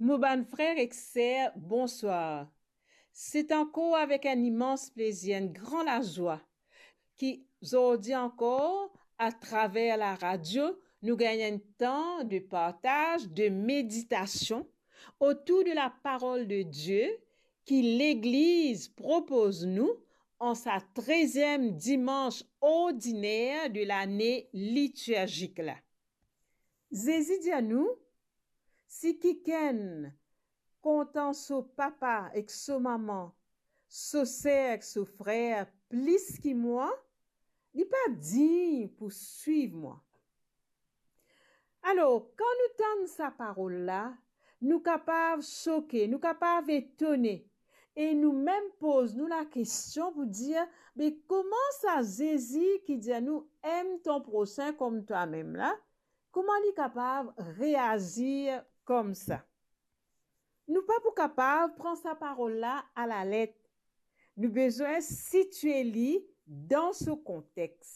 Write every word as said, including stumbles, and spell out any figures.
Mo bann frer ek ser, bonswar. Se ankor avek enn imans plezir, enn gran lazwa ki zordi ankor, atraver laradio, nou gagn enn tan de partaz, de meditasion otour de laparol de Die ki Legliz propoz nou an sa treziem dimans ordiner de lane litirzik la. Zezi dir nou, si kikenn kontan so papa ek so mama, so ser ek so frer plis ki mwa, li pa dign pou swiv mwa. Alor, kan nou tann sa parol la, nou kapav soke, nou kapav etone, e nou mem poz nou lakestion pou dir, me kouma sa Zezi ki dir nou, aime ton prochain comme toi-même la, kouma li kapav reazir koumsa? Nou pa pou kapav pran sa parol la alalet. Nou bizin sitie li dan so kontex.